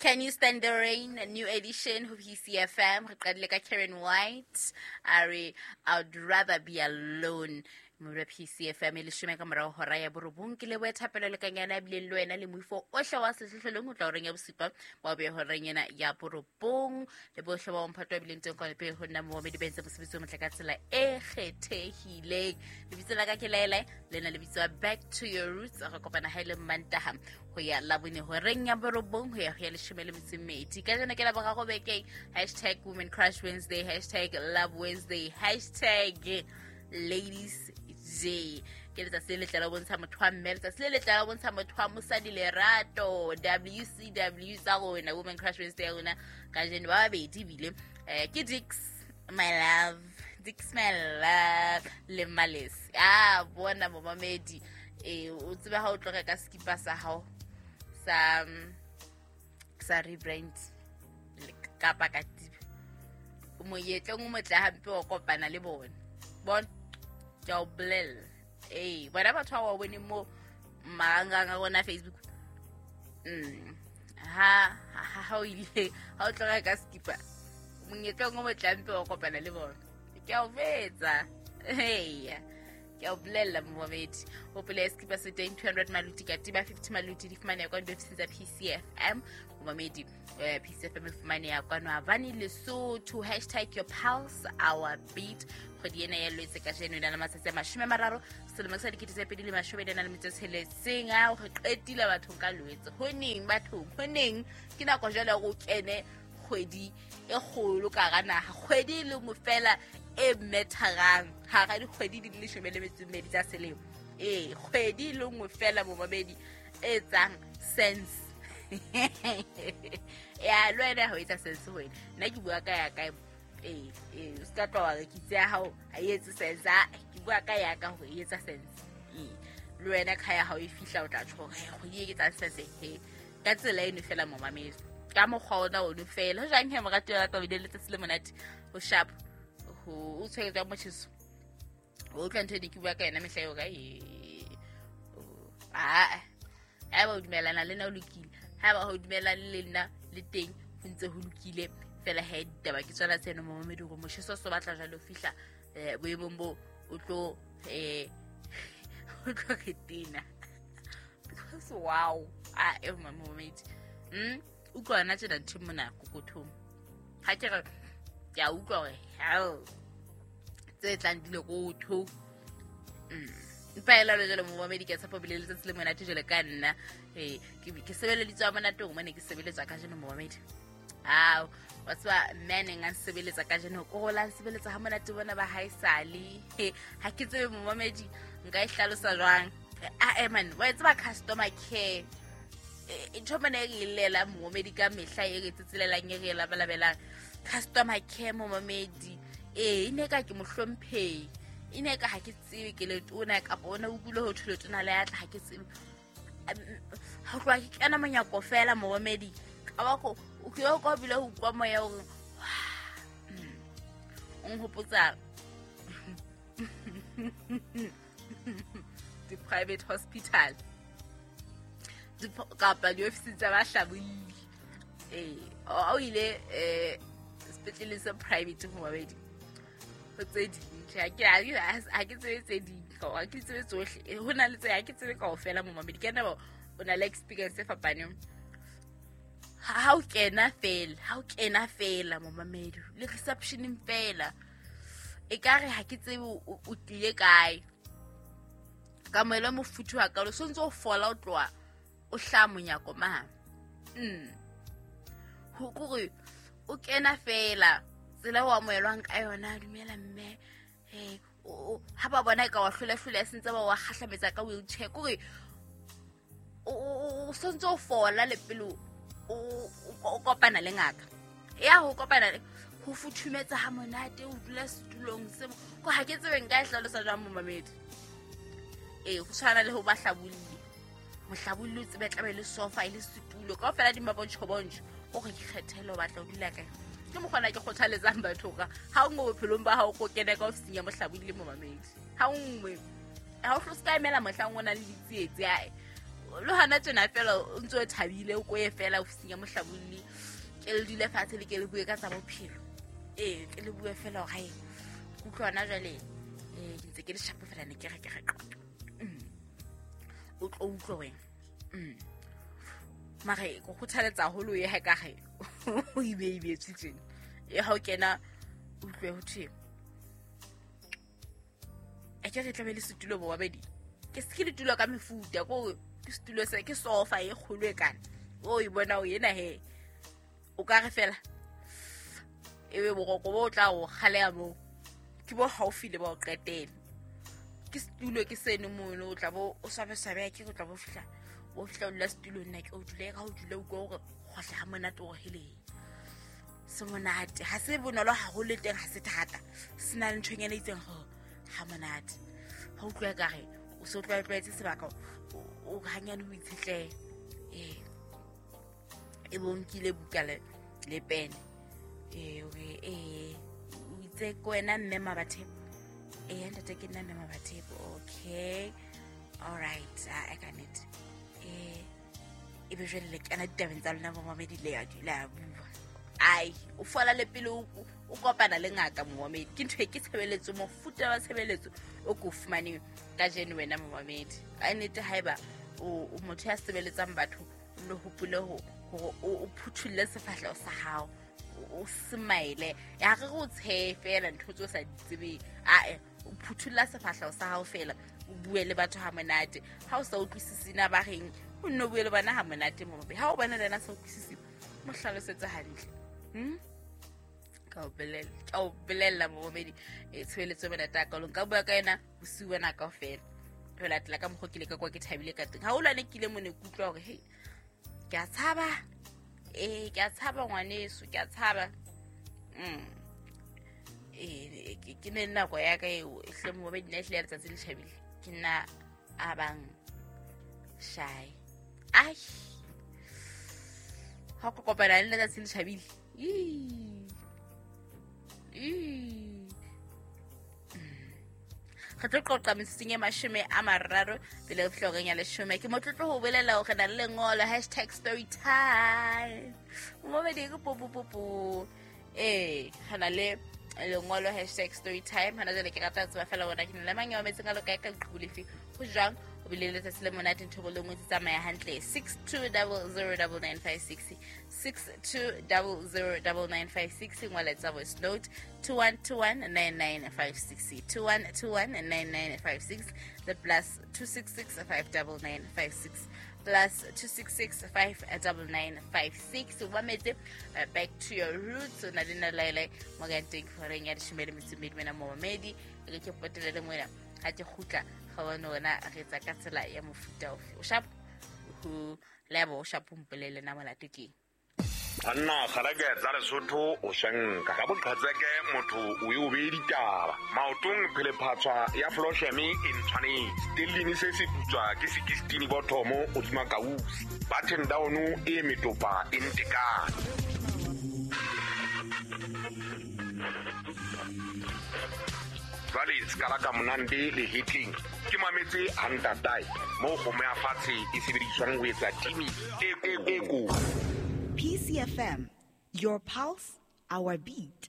Can You Stand the Rain, a new edition ho PCFM. Re qadile ka Karen White. A re, I'd rather be alone. Mora PCFM e leshome ka morao hora ya borobong ke leboe thapelo le kanyana ya bileng le wena le moifo ohle wa sehlohlolong ho tla horeng ya bosupa wa be horeng ena ya borobong le bohle ba bomphato ba bileng teng kwana pele ho nna momamedi ba entse mosebetsi o motle ka tsela e kgethehileng. Lebitso la ka ke Laela, lena le bitswa Back to Your Roots. Re kopana ha e le Mantaha ho ya Labone horeng ya borobong ho ya ho ya leshome le metso e mmedi. Ka jeno ke la boraro bekeng, hashtag Women Crush Wednesday, hashtag Love Wednesday, hashtag Ladies Day. Ke letsatsi le letle la ho bontsha motho wa mme, letsatsi le letle la ho bontsha motho wa mosadi lerato. WCW tsa rona, Women Crush Wednesday ya rona kajeno ba babedi ebile ke Dix my love, Dix my love le Males. Ah, bona momamedi, o tsebe ha o tlo reka skipa sa hao sa rebrand kapa katiba, monyetleng o motle hampe wa kopana le bona. Bona, ke a o bolella. Ee, bona batho ba ba boneng mo marangrang a rona Facebook. Ha o ile, ha o tlo reka skipa, monyetleng o motle hampe wa kopana le bona. Ke a o betsa. Eya, ke a o bolella momamedi. Hopola skipa se teng 200 maluti, katiba 50 maluti, di fumaneha kwano diofising tsa PCFM. Momamedi, PCFM e fumaneha kwano Havani, Lesotho. Hashtag your pulse, our beat. Kgwedi ena ya Lwetse kajeno e na le matsatsi a 30 selemo sa 2026. A re qetile bathong ka Lwetse. Ho neng bathong, ho neng ke nako jwale hore o kene kgwedi e kgolo ka hara naha, kgwedi e le nngwe fela e metharang hara dikgwedi di le 12 tsa selemo. Ee, kgwedi e le nngwe fela momamedi e etsang sense. Ya, le wena ha o etsa sense ho wena. Nna ke bua ka ya kae? Ee, ee, o ska tloha wa re ke itse ya hao ha e etse sense. Ah, ke bua ka ya ka hore e etsa sense. Ee, le wena ka ya hao e fihla o tla tjho hore, hei, kgwedi e ke etsang sense, he. Ka tsela eno fela momamedi, ka mokgwa ona ono fela. Ho jwang he moratuwa wa ka, o bile letsatsi le monate, ho sharp, ho o tshwere jwang motjheso? O utlwa ntho e ne ke bua ka yona mehla eo ka e. Ah, haeba o dumellana le nna o lokile, haeba ha o dumellane le nna le teng ho ntse ho lokile fela. He, ditaba ke tsona tseno momamedi, hore motjheso o so batla jwale o fihla boemong bo o tlo o tlo re tena. Because wow, ah, e momamedi. Utlwa yona tjena ntho mona kokothong. Ha ke re ke a utlwa hore hell tse tlang di le rotho. Empa ela le jwale momamedi, ke a tshepa bile letsatsi le monate jwale ka nna. Ee, ke sebeleditswe ha monate hore mane ke sebeletswa kajeno momamedi. Ao, wa tseba mme a neng a nsebeletsa kajeno, ko go la nsebeletsa ha monate bona ba haesale. He, ha ke tsebe momamedi nka e hlalosa jwang. Ah, man, wa e tseba customer care. Ntho mane e re llela momamedi ka mehla, e re tsetselelang, e re labalabelang. Customer care momamedi. Ee, e ne ka ke mohlomphehi. E ne ka ha ke tsebe ke letona kapa ona o utlwile ho thwe letona le atla, ha ke tsebe. Ha tloha ke kena monyako fela momamedi, ka ba ko o ke o ka bile ho utlwa moya o re, o nhopotsa di-private hospital kapa diofising tsa bahlabolli. Ee, o ile sepetleleng sa private ho mabedi ho tse ding. Tjhe, ha ke tsebe tse ding, ha ke tsebe tsohle. Ho na le tse ha ke tsebe kaofela momamedi. Ke nna o na le experience e fapaneng. Ha o kena fela, ha o kena fela momamedi, le receptioneng fela, ekare ha ke tsebe o tlile kae. Kamohelo e mofuthu hakalo, so ntse o fola o tloha o hlaha monyako mane. Ho kore o kena fela tsela o amohelwang ka yona, dumela mme. Ha ba bona e ka wa hlola-hlola, se ntse ba wa kgahlametsa ka wheelchair. Kore o sontse o fola le pele o kopana le ngaka. Ya ho kopana le ho futhumetsa ha monate, o dula setulong se ko ha ke tsebe nka e hlalosa jwang momamedi. Ee, ho tshwana le ho ba hlabolli. Mohlabolli o tsebe tlabe le sofa e le setulo kaofela di mabontjho-bontjho, o re ikgethele o batla ho dula kae. Ke mokgona ke kgothaletsang batho hore ha o nngwe bophelong ba hao ko kene ka ofising ya mohlabolli momamedi. Ha o nngwe, ha o hlo se ka emela mohlang o nang le ditsietsi, ae. Le hana tjena fela o ntse o thabile, o koye fela ofising ya mohlabolli, ke le dule fatshe le ke le bue ka tsa bophelo. Ee, ke le bue fela hore hae ke utlwa hona jwale, ke ntse ke le shapo fela, ne ke re ke re o tlo utlwe wena. Mare ke kgothaletsa haholo ye ha ka re o ibeibetswe tjena. E ha o kena o utlwe ho thwe a ke re tlabe le setulo bo babedi. Ke se ke ditulo ka mefuta, ko ke setulo se ke sofa e kgolo e kana. O e bona o ena he. O ka re fela ebe boroko bo tla o kgaleha moo, ke bo haufi le ba o qetela. Ke setulo ke seno mono, o tla bo o swabe-swabe, ke o tla bo fihla, o fihla o dula setulong, nna ke o dule ka o dule o utlwa hore kgohla ha monate o hele. Se monate, ha se bonolo haholo teng, ha se thata. Se na le nthonyana e itseng hore ha monate. Ha utlwa ka re o so tlwaetlwaetse sebaka, o hanyane o itshetlehe. Ee, e bo nkile buka le pene. Ee, ee, o itse ke wena mme Mabathepo. Ee, ntate ke nna mme Mabathepo. Okay, all right, a ka nnete. Ee, e be jwale le kena ditabeng tsa lona momamedi, le ya dula bua. Ai, o fola le pele o kopana le ngaka momamedi. Ke ntho e ke tshebeletso, mofuta wa tshebeletso o ko fumaneng kajeno wena momamedi. Ka nnete haeba o motho ya sebeletsang batho, o nno hopole hore o phuthulle sefahleho sa hao, o smile. Ya re o tshehe fela ntho tseo sa di tsebeng. Ae, o phuthulla sefahleho sa hao fela, o bue le batho ha monate. Ha o sa utlwisisi na ba reng, o nno bue le bona ha monate momamedi. Ha o bona le yena sa utlwisisi, mo hlalosetse hantle. Ka o bolella momamedi, tshebeletso e monate hakaalo. Nka bua ka yena bosiu bona kaofela. Ho latela ka mokgwa ke ile ka kwa ke thabile ka teng. Haholo ha ne ke ile mone ke utlwa hore hei, ke a tshaba. Ee, ke a tshaba ngwaneso, ke a tshaba. Ee, ke ne nako ya ka eo, hle momamedi, nna ehlile ya letsatsi le tjhabile. Ke nna a bang shy. Ai, ha o ka kopana le nna letsatsi le tjhabile. Re tlo qoqa metsotsong e 30 pele re fihla horeng ya 10. Ke motlotlo ho bolela hore re na le lengolo #storytime. Momamedi ke po po po po. Ee, re na le lengolo #storytime. Hona jwale ke rata ho tseba fela hore na ke na le mang ya mametseng a lo kae ka leqhubu lefe. Ho jwang? O bile le letsatsi le monate, ntho e le nngwe tse tsamaya hantle. 62009956, 62009956. Ngola tsa voice note 21219956, 21219956, the plus 266 59956, plus 266 59956. O mametse back to your roots. O na le nna laele mo ka teng horeng ya 12 wena momamedi. Re ke potele le moena ha ke kgutla ga bone wena re etsa ka tsela ya mofuta ofe. O shapo ho lebo, o shapo mpolele na molato keng. Banna kgalake tsa Lesotho o shanka ka boqhetseke motho o e o beye ditaba maotong phelephatswa ya flosheme e ntshwanetse stellini se se putswa ke 16 bothomo hodima kausi button down e metopa e ntekane. Jwale sekala ka monande le hetleng ke mametse hantatae moo kgomo ya fatshe e sebediswang ho etsa timi e ko. PCFM, your pulse, our beat.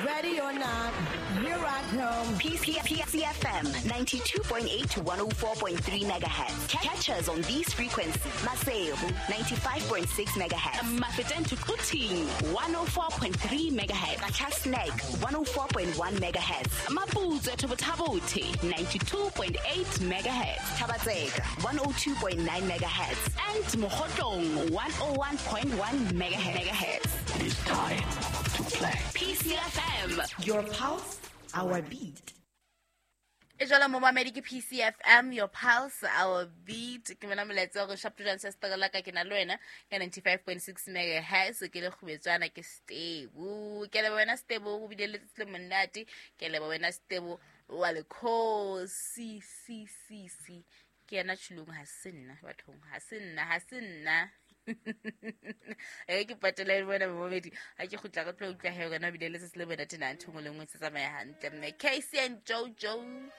Ready or not, here I come. PCFM 92.8 to 104.3 megahertz. Catch us on these frequencies. Maseru 95.6 megahertz. Mafeteng to Quthing 104.3 megahertz. Qacha's Nek 104.1 megahertz. Maputswe to Botha-Bothe 92.8 megahertz. Thaba-Tseka 102.9 megahertz. And Mokhotlong 101.1 megahertz. It is time to play. PCFM, your pulse, our beat. E jwalo momamedi ke PCFM, your pulse, our beat. Ke mona molaetsa hore shapo jwang se la ka ke na le wena ka 95.6 megahertz. Ke le kgubetswana ke Stebo. Ke leboha wena Stebo, o bile le letsatsi le monate. Ke leboha wena Stebo wa le C C C C. Ke yena tjhulong, ha se nna bathong, ha se nna, ha se nna. E ke patela le wena momamedi. Ha ke kgutla re tlo utlwa he wena o bile le letsatsi le monate na ntho e nngwe le nngwe se tsamaya hantle. Mme Casey and Jojo,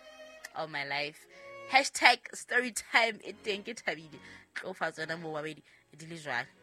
all my life. Hashtag story time e teng, ke thabile. Tlo fa tsona moo babedi di le jwale.